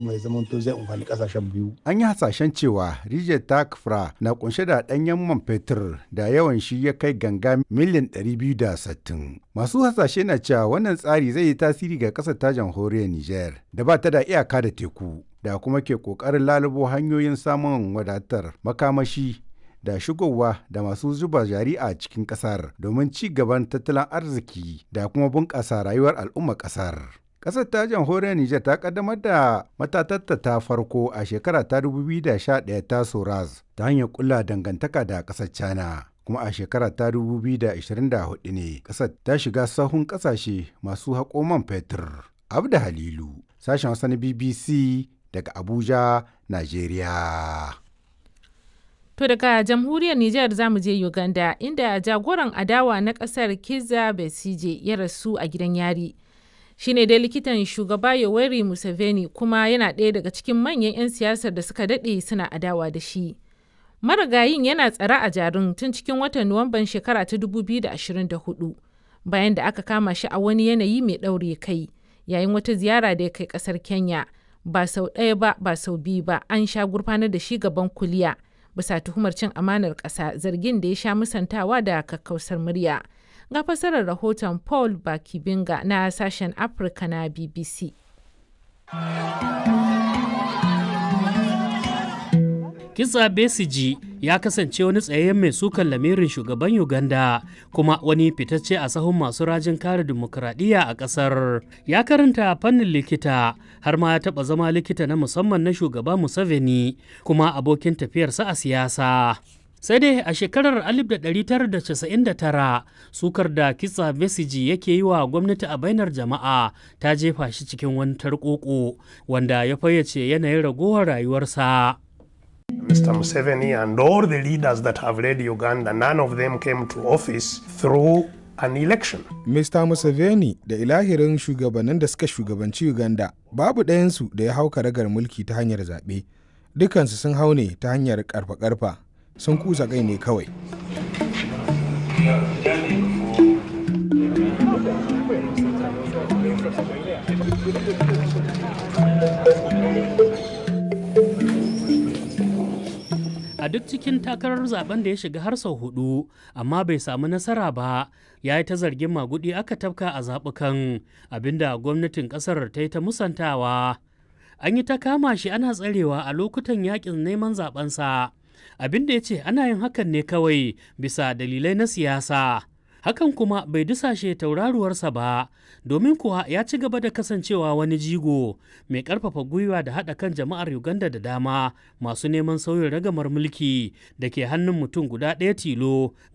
Mai zamanto zai amfani kasashen biyu. An yi hasashen cewa rijiyar ta Kafra na kunshe da ɗanyen man fetur da yawan shi ya kai ganga miliyan 260. Masu hasashe na cewa wannan tsari zai yi tasiri ga ƙasar ta jamhuriyar Nijar da ba ta da iyaka da teku da kuma ke ƙoƙarin lalubo hanyoyin samun wadatar makamashi da shigowa da masu zuba jari a cikin ƙasar domin ci gaban tattalin arziki da kuma bunƙasa rayuwar al'ummar ƙasar. Ƙasar ta jamhuriyar Nijar ta ƙaddamar da matatarta ta farko a shekara ta 2011 ta Soraz ta hanyar ƙulla dangantaka da ƙasar China. Kuma a shekara ta 2024 ne ƙasar ta shiga sahun ƙasashe masu haƙo man fetur. Abda Halilu, sashen Hausa na BBC daga Abuja, Najeriya. To daga jamhuriyar Nijar za mu je Uganda, inda jagoran adawa na ƙasar Kizza Besigye ya rasu a gidan yari. Shi ne dai likitan shugaba Yoweri Museveni kuma yana ɗaya daga cikin manyan 'yan siyasar da suka daɗe suna adawa da shi. Marigayin yana tsare a Jarin tun cikin watan Nuwamban shekara ta 2024 bayan da aka kama shi a wani yanayi mai ɗaure kai yayin wata ziyara da ya kai ƙasar Kenya. Ba sau ɗaya ba, ba sau biyu ba, an sha gurfanar da shi gaban kuliya bisa tuhumar cin amanar ƙasa, zargin da ya sha musantawa da kakkausar murya. Ga fassarar rahoton Paul Bakibinga na sashen Afirka na BBC. Kizza Besigye ya kasance wani tsayayyen mai sukan lamirin shugaban Uganda kuma wani fitacce a sahun masu rajin kare dimokuraɗiyya a ƙasar. Ya karanta fannin likita har ma ya taɓa zama likita na musamman na shugaba Museveni kuma abokin tafiyarsa a siyasa. Sai dai a shekarar 1999, sukar da Kitsa Besigye yake yi wa gwamnati a bainar jama'a ta jefa shi cikin wani tarkoko wanda ya fayyace yanayin ragowar rayuwarsa. Mr. Museveni and all the leaders that have led Uganda, none of them came to office through an election. Mr. Museveni da ilahirin shugabannin da suka shugabanci Uganda, babu ɗayansu da ya hau karagar mulki ta hanyar zaɓe. Dukansu sun hau ne ta hanyar karfa-karfa, sun kusa kai ne kawai. A duk cikin takarar zaben da ya shiga har sau hudu amma bai samu nasara ba, ya yi ta zargin magudi aka tafka a zaɓukan, abinda gwamnatin ƙasar ta yi ta musantawa. An yi ta kama shi ana tsarewa a lokutan yakin neman zabensa, abinda ya ce ana yin hakan ne kawai bisa dalilai na siyasa. Hakan kuma bai dusashe tauraruwarsa ba, domin kuwa ya ci gaba da kasancewa wani jigo mai karfafa gwiwa da haɗa kan jama'ar Uganda da dama masu neman sauyin ragamar mulki da ke hannun mutum guda ɗaya tilo.